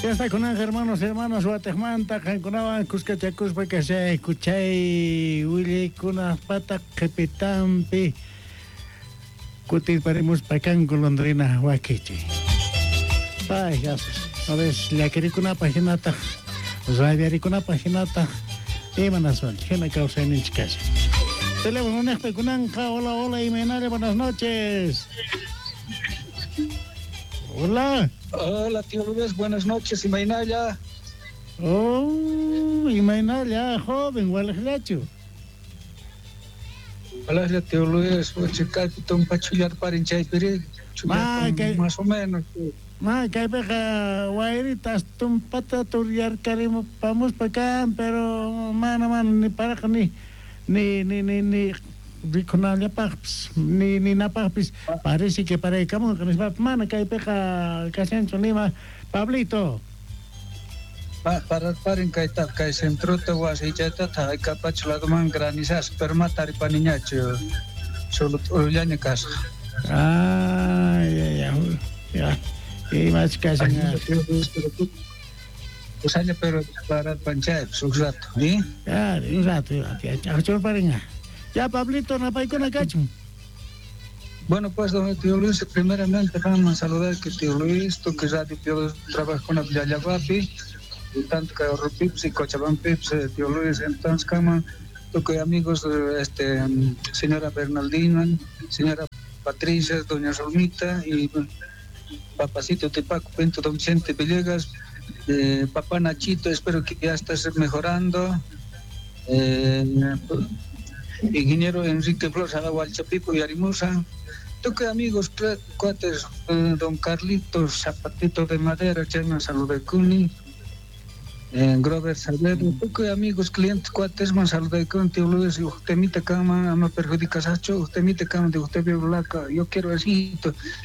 Ya está kunanqa hermanos hermanas watejmanta qankunawan kuskachakuspa kashayku chay willaykunapata qhipitanpi kutirparimuspa kan golondrina wakichi. Ay, gracias. A veces llakirikunapaj hinataq rabiarikunapaj hinataq imanaswanchik hina kawsayninchik kashan. Teléfono niqpi kunanqa hola hola imaynalla buenas noches. Hola. Hola, tío Luis, buenas noches, imaynalla. Oh, imaynalla, joven, walejllachu. Walejlla, tío Luis, kaypi tumpa chullarparin chaypiri, más o menos. Ma, kaypiqa wayritas tumpata turyarkarimupamuspa kan, pero mana mana ni paraqa ni ni ni ni ni rikhunallapaqpis ni ninapaqpis parece que paraykamunqa nispa mana kaypiqa kashanchu nima Pablito. Pararparin kayta kay centrota wasichayta haykapacha ladoman granizas, pero ma taripaniñachu, solo t'urullaña kasqa. Ah, ya, ya, ya. Imach kashan. Usalla pero pararpan chaypis uj rato, ¿eh? Ya, un rato, ya, ch'aqchurparinqa. Ya, Pablito, napaykuna kachun. Bueno, pues, don tío Luis, primeramente vamos a saludar que tío Luis, tú que radio tío trabaja con Villaguapi, y tanto que Rupips y Cochabampips, tío Luis, entonces, como tú que amigos, señora Bernaldina, señora Patricia, doña Solmita, y papacito Tipaco, Pinto, don Vicente Villegas, papá Nachito, espero que ya estás mejorando. Ingeniero Enrique Flores, Hualchapipo y Arimusa. Tú que amigos, cuates, don Carlitos, Zapatito de Madera, Chema Saludecuni, Grover Salcedo, tú que amigos, clientes, cuates, man Saludecuni, tío Luis, usted mite cama, ama perjudica sacho, usted mite cama de usted blanca, yo quiero así,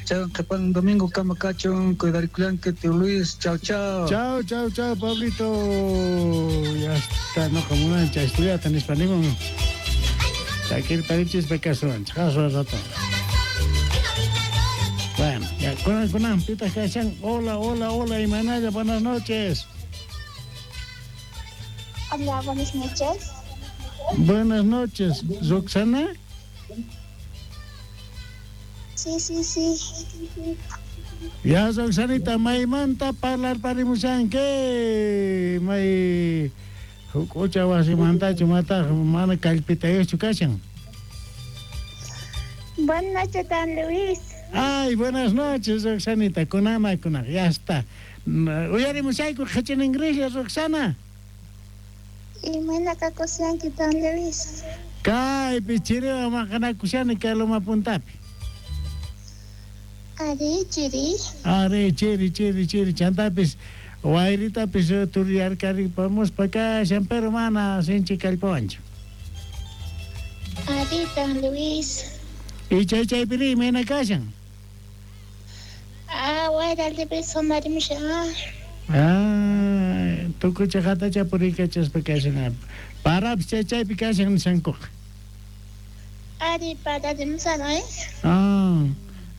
chao, que pan domingo cama cacho, cuidar que tío Luis, chao, chao. Chao, chao, chao, Pablito. Ya está, no como una ancha, estudiate en español. Aquí parichis pecasuan, chao, rato. Bueno, ya, kunan, kunan, pita kashan, hola, hola, hola, Imanaya, buenas noches. Hola, buenas noches. Buenas noches, Roxana. Sí, sí, sí. Ya, Roxanita, maymanta parlarparimushanki, may huk'ucha wasimantachu mataq mana kallpitayuqchu kashan. Buenas noches, don Luis. Ay, buenas noches, Roxanita. Kunama, kunak, ya está. Uyarimushayku qhichin ingrislla, Roxana. Imayna kakushanki, don Luis? Kaypi chiriwan maqanakushani kay loma puntapi. Ari, chiri. Ari, chiri, chiri, chiri. Chantapis, wayritapis turyarkaripamuspa kashan, pero mana sinchi kallpawanchu. Ari, don Luis. Y chay chaypiri imayna kashan? Ah, wayra libre sonarimushan. Ah, tukucha hatacha puriykachaspa kashan. Parapis chay chaypi kashan nishankuqa. Ari, pararimushan, ¿eh? Ah,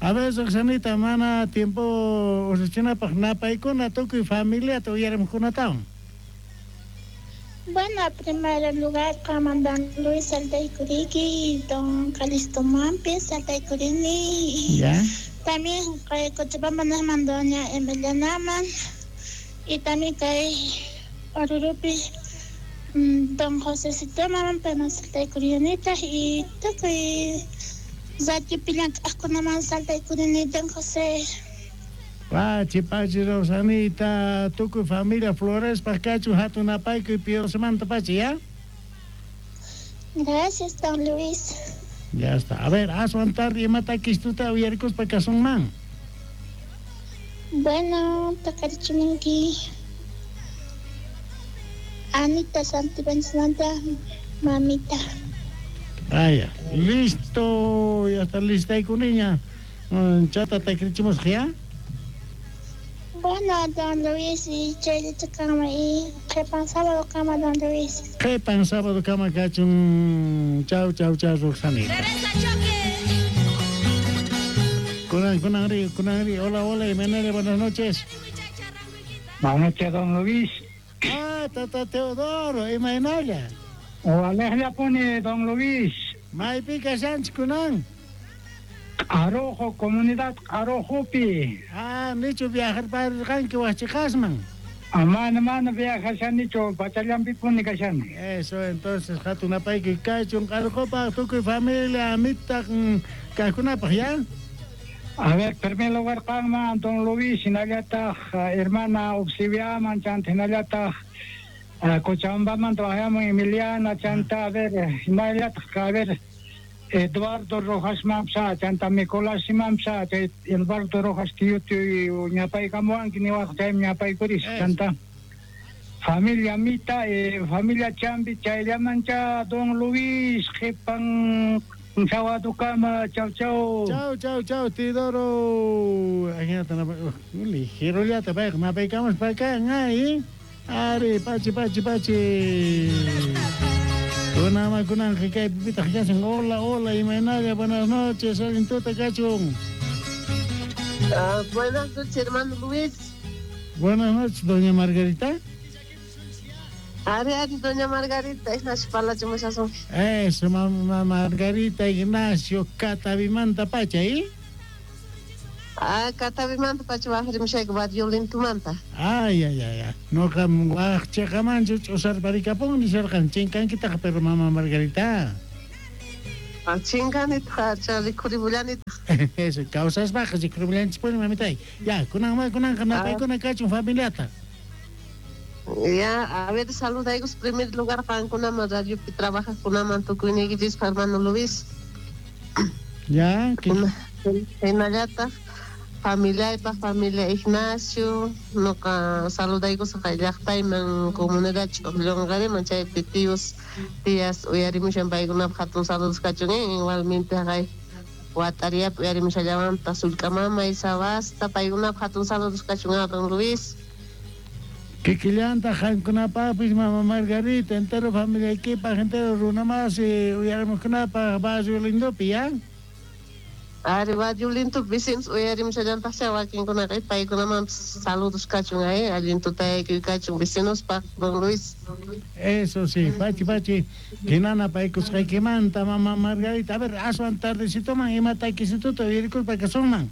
a ver, Roxanita, mana tiempo usuchinapaq napaykuna tukuy familiata uyarimuqkunatawan. Bueno, en primer lugar, don Luis Saltaycuriki, don Calisto Mampi, Saltaycurini. Ya. También Cochabamba nos mandó doña Emiliana Man. Y también que Orurupi, don Josecito Maman, pero Saltaycurinita. Y tukuy Radio Pilanca, Acunaman, Saltaycurini, don José. Pachi, pachi, Rosanita, tukuy familia Flores, Pacachu, Hatunapayku y Pío Semanta, pachi, ¿ya? Gracias, don Luis. Ya está. A ver, aswan tarde imatakistuta uyarikuspa kasunman. Bueno, takarichiminki. Anita Santibáñezmanta, mamita. Ah, ya. Listo, ya está lista niña. Chata takrichimus, ¿ya? Bueno, don Luis, y chayllacha kama y qhipan sábado kama, don Luis. Qhipan sábado kama kachun. Chau, chau, chau, Roxanita. Kunan, kunan, ri, kunan, ri. Hola, hola, Imenere, buenas noches. Buenas noches, don Luis. Ah, tata Teodoro, imaynalla. Walejllapuni, don Luis. Maypi kashanchik kunan? Arojo, comunidad Arojopi. Ah, nichu viajarparirqanki wajchiqasman. Mana, mana viajashanichu, pachallanpipuni kashani. Eso, entonces, hatun apayki kachun Arojopaq tukuy familia amitaq kajkunapaq, ya? A ver, primer lugar qanman, don Luis, hinallataq hermana Obsidiaman, chanta hinallataq Cochabambaman trabajaman Emiliana, chanta, a ver, hinallataq, a ver, Eduardo Rojas Mamsa, chanta Nicolás Mamsa, chay Eduardo Rojas tiyuti ñapaykamuwanki niwaq chaymi ñapaykuris, chanta familia Mita, familia Chambi, chayllamancha don Luis, qhipan sawadukama, chau chau. Chau, chau, chau, Tidoro. Ligerollata payqa napaykamus paykan, ay. Ari, pachi, pachi, pachi. Kunama kunanqa kaypipitaq kashan. Hola, hola, imaynalla, buenas noches, allin tuta kachun. Buenas noches, hermano Luis. Buenas noches, doña Margarita. Ari, ari, doña Margarita, Ignacio Palacio Musason. Eso, mamá Margarita Ignacio Catavimanta Pacha, ¿eh? Ah, Catavimanta Pacha, bajarimshayku barrio Lintumanta. Ay, ay, ay, ay. Noqa waqchaqamanchu ch'usarparikapun nisharqan chinkankitaq, pero mamá Margarita. Ah, chinkanitaq, cha rikhuripullanitaq. Eso, kawsaspaqa rikhuripullanchispuni, mamitay. Ya, kunanma kunanqa napaykuna kachun familiata. Ya, a ver, saludaykus primer lugar qankunaman radiopi trabajaqkunaman tukuyniykichis, hermano Luis. Ya, hinallataq familiaypaq, familia Ignacio, noqa saludaykus llaqtayman comunidad Ch'uqllonqariman, chaypi tíos, tías uyarimushan paykunapaq hatun saludos kachun, igualmente haqay wat'ariyapi uyarimushallamantaq sullk'a mamay Sabasta, paykunapaq hatun saludos kachun, don Luis. Kikillanta qankunapaqpis mama Margarita, entero familiaykipaq, entero runamasi uyarimuqkunapaq barrio lindopi, ya? Ari, barrio lindopi vecinos uyarimushallantaqcha wakinkunaqa, paykunamanpis saludos kachun, allin tutayaykuy kachun vecinospaq, don Luis. Eso sí, pachi, pachi, hinana paykusqaykimanta, mama Margarita. A ver, aswan tardecitoman ima taquisituta uyarikuspa kasunman.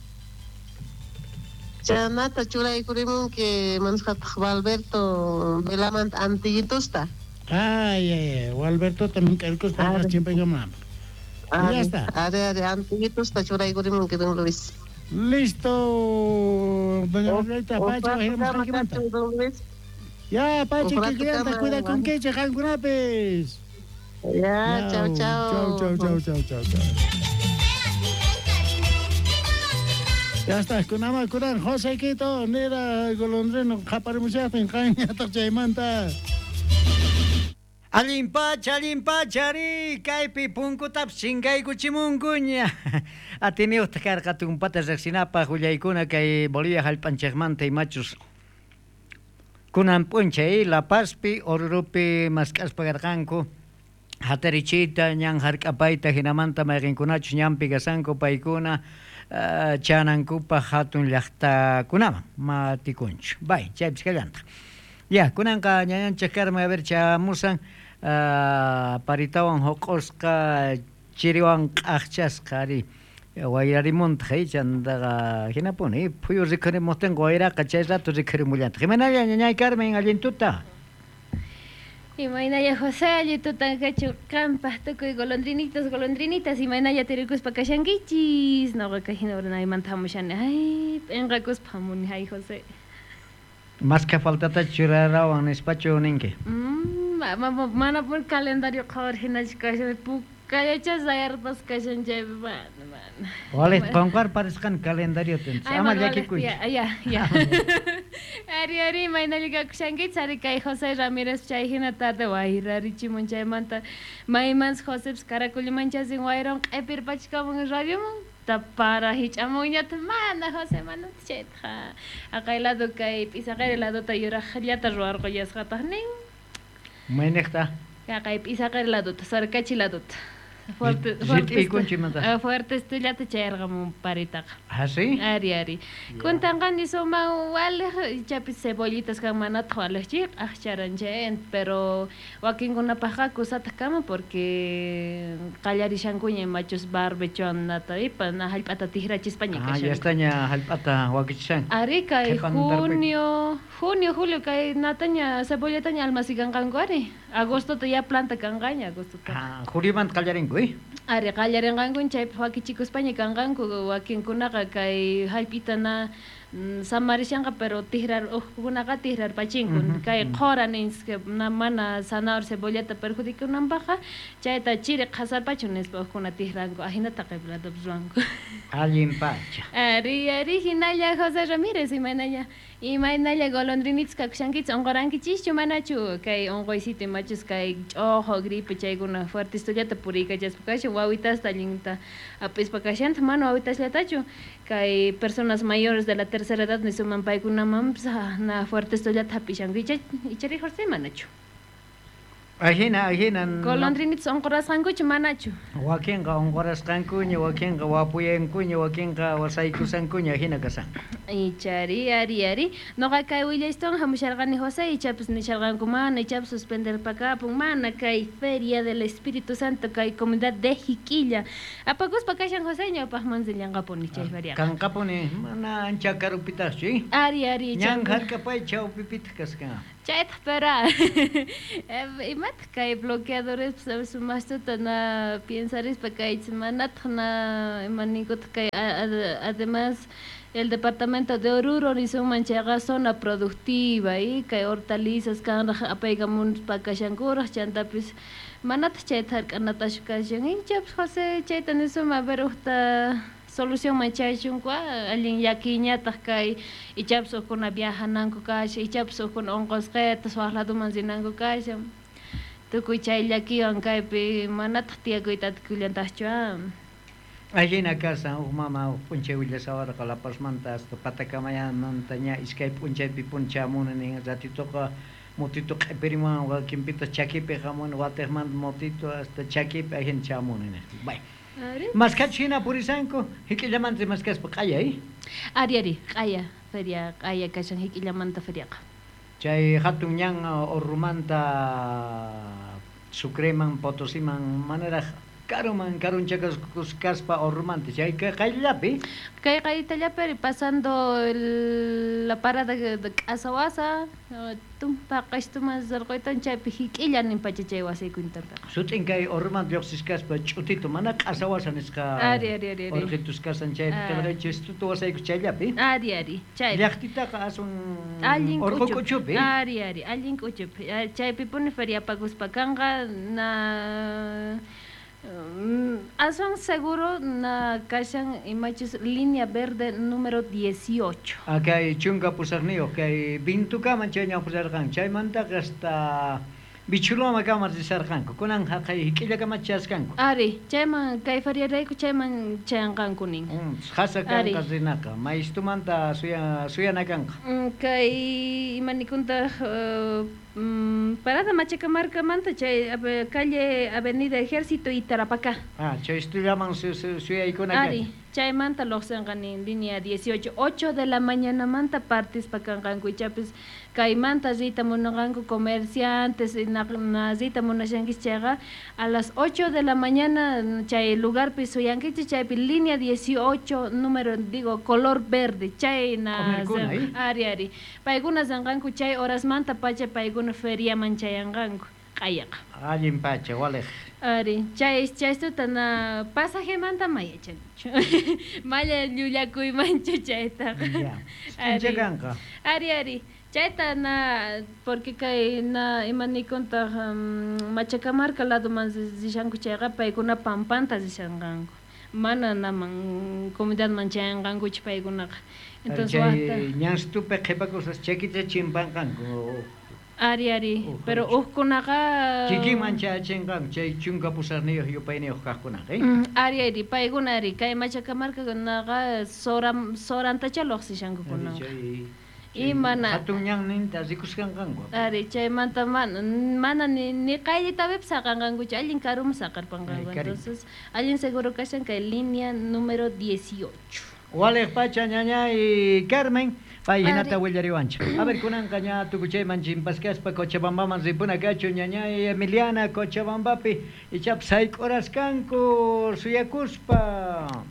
Chanata churaykurimunki manisqataq Valberto Velamanta antiguitusta. Ay, ay, ay, Valbertota mink'arikuspa chimpaykamunanpaq. Ya está. Ari, ari, antiguitusta churaykurimunki, don Luis. Listo, doña Margarita, pachi, wajiramusqaykimanta. Ya, pachi, kikillanta cuidakunkichik qankunapis. Ya, chau, chau. Chau, chau, chau, chau, chau, chau. Ya está, kunama kunan José Quito, nira golondrino qaparimushaqtin qanñataq chaymanta. Allin pacha, ari, kaypi punkutapis chinkaykuchimunkuña. Atiniyuqtaq karqa tumpata riqsinapaq willaykuna kay Bolivia hallp'anchikmanta imachus kunan p'unchay La Pazpi, Orurupi mask'aspa karqanku. Hatarichiyta, ñan hark'apayta, hinamanta mayqinkunachus ñanpi kasanku paykuna chanankupaq hatun llaqtakunaman matikunchu. Bay, chaypis kallantaq. Ya, kunanqa ñañanchik karmi, a ver, chamusan paritawan huq'usqa chiriwan q'aqchasqa ari wayrarimuntaq, chantaqa hinapuni phuyu rikhurimuqtinqa wayraqa chay rato rikhurimullantaq. Imaynalla ñañay Carmen, allin tuta. Imaynalla José, allin tutan kachu qanpaq tukuy golondrinitos, golondrinitas, imaynalla tirikuspa kashankichis. Noqaqa hina uranaymanta hamushani, ay, p'inqakuspa hamuni, ay José. Maska faltata churarawan nispachu ninki? Mana por calendario qhawar hinachu kashan, pukallacha sayarpas kashan chaypi, mana, mana. Wale, qonqar parisqan calendario tentis, ama llakikuychu. Ya, ya. Ari, ari, imaynalla kakushankichis, ari kay José Ramírez chay hina tarde wayrarichimun chaymanta maymans Josepis Caracollimanchasin wayran q'ipirpachikamun radioman. Para hich'amunñata mana José mana chaytaqa haqay lado kay p'isaqari ladota yuraqllata ruwarqullasqataq nin. Mayniqta? Haqay p'isaqari ladota, Sarkachi ladota. Fuerte, Rit'iykunchikmanta. Fuertestullata chayarqamun paritaqa. Ah, sí? Ari, ari. Kuntanqani suman waliq ichapis cebollitas kan manataq waliqchi q'aqcharan chay, pero wakinkunapaqqa kusataq kaman porque qallarishankuña imachus barbechoanata ipa na hallp'ata tikrachispaña Ah, ya kashanku. estaña hallp'ata wakichishanku. Ari kay Qhipan tarpuypi. junio, junio, julio kay nataña cebollataña almasikanqanku ari. Agostota ya planta kanqaña agostota. Ah, juliomanta qallarinku, eh? Ari qallarinqankun chaypi wakichikuspaña kanqanku wakinkunaqa kay hallp'ita na samarishanqa pero tikrar uqkunaqa tikrarpachinku kay qhora ninchis na mana zanahoria cebollata perjudikunanpaqqa chayta chiri qhasarpachun nispa uqkuna tikranku ajinata qiplatapas ruwanku. Allin pacha. Ari, ari, hinalla José Ramírez, imaynalla, imaynalla golondrinitas kakushankichis, unqurankichishchu manachu kay unquycito imachus kay ch'uqu, gripe chaykuna fuertistullata puriykachaspa kashan, wawitasta allinta hap'ispa kashantaq, mana wawitasllatachu kay personas mayores de la tercera edad nisuman paykunamanpis na fuertistullata hap'ishanku, icha ichari José manachu. Ajina, ajina. Golondrinitas unqurasqankuchu manachu. Wakinqa unqurasqankuña, wakinqa wapuyankuña, wakinqa wasaykusankuña, ajina kasanku. Ichari, ari, ari. Noqa kay willaystuwan hamusharqani José, ichapis nisharqanku mana, ichapis suspenderpakapun, mana kay Feria del Espíritu Santo kay comunidad de Jiquilla. Apakuspa kashan José ñawpaqman rillanqapuni chay feriaqa. Kanqapuni, mana ancha karupitaqchu, eh? Ari, ari, Ñan ichanku. harkapay chawpipitaq kasqa. Chaytaq pero imataq kay bloqueadores sumaqtuta na piensarispa kay manataq na imaninkutaq kay además el departamento de Oruro nisunman chayqa zona productiva y kay hortalizas kanraq apaykamunspa kashankuraq chantapis manataq chayta hark'anatachu kashan ichapis José chayta nisunman a ver uqta solucionman chayachunku allin llakiyñataq kay ichapis uqkuna viajananku kashan ichapis uqkuna unqusqaytas waq laduman rinanku kashan tukuy chay llakiywan kaypi manataq tiyakuyta atikullantaqchu. Ajina kasan huk mama huk p'unchay willasawarqa La Pazmanta hasta Patacamayanmanta ña iskay p'unchaypi p'unchamuni nin ratitoqa motito q'ipirimuwan wakinpitaq chakipi hamuni watiqmanta motito hasta chakipi ajina chamuni nin. Bueno. Ari. Maskachu hina purisanku hik'illamanta maskaspa q'aya, eh? Ari, ari, q'aya, feria, q'aya kashan hik'illamanta feriaqa. Chay hatun ñan Orrumanta Sucreman, Potosiman manaraq karuman karunchakakuspa Orrumanta chay kay qayllapi. Kay qayllitallapi pasando la parada de K'asawasa, tumpa q'ishtuman rirquytan chaypi hik'illa ninpacha chay wasiykuntapiqa. Sut'in kay Orrumanta lluqsisqaspa ch'utito mana K'asawasa nisqa. Ari, ari, ari, ari. Urqitus kasan chaypi qillqaychis tutu wasayku chayllapi. Ari, ari, chaypi. Llaqtitaqa aswan Allin urqu k'uchupi. k'uchupi. Ari, ari, allin k'uchupi. Chaypipuni feriapakuspa kanqa na aswan seguro na kashan imachus línea verde número 18. Ah, kay chunka pusaqniyuq kay Vintukaman chay ñawpasarqanku chaymantaqa hasta Bichulwamakama risarqanku kunan haqay hik'illakama chayasqanku. Ari, chayman kay feriarayku chayman chayanqanku nin. Qhasa Ari. kanqa rinaqa maystumanta suyana kanqa. Kay imanikuntaq parada Machacamarcamanta chay calle Avenida Ejército y Tarapacá. Ah, chay estullaman suyaykuna Ari, chaymanta lluqsinqa nin línea 18, 8 de la mañanamanta partispa kanqanku ichapis kaymanta riyta munanqanku comerciantes na riyta munashankichis chayqa a las 8 de la mañana chay lugarpi suyankichis chaypi línea 18 número digo color verde chay na Comerkuna, eh? Ari, ari. Paykuna sanqanku chay horasmanta pacha paykuna feriaman chayanqanku q'ayaqa. Allin pacha, waliq. Ari, chay chaystuta na pasajemanta mayachanichu. Malla llullakuymanchu chaytaqa. Ya. Ari. Kanqa. Ari, ari. Chayta na porque kay na imanikuntaq Machacamarca laduman rishanku chayqa paykuna pampanta rishanqanku. Mana naman comunidadman chayanqankuchu paykunaqa. Entonces waqta Chay ñanstupi qhipakuspas chakita chimpanqanku. Ari, ari, pero uqkunaqa Kikinman chayachinqanku chay chunka pusaqniyuq yupayniyuq kaqkunaqa, eh? Ari, ari, paykuna ari, kay Machacamarcakunaqa sorantacha lluqsishanku kunanqa. Chay Y mana Hatun ñanninta rikusqanqanku. Ari, chaymanta mana mana ni qayllitapipis saqanqankuchu, allin karuman saqarpanqanku. Entonces, allin seguro kashan kay línea número 18. Waliq pacha ñañay Carmen, pay hinata willariwanchik. A ver, kunanqa ña tukuchayman chimpaskaspa Cochabambaman ripuna kachu ñañay Emiliana Cochabambapi ichapas sayk'uraskanku suyakuspa.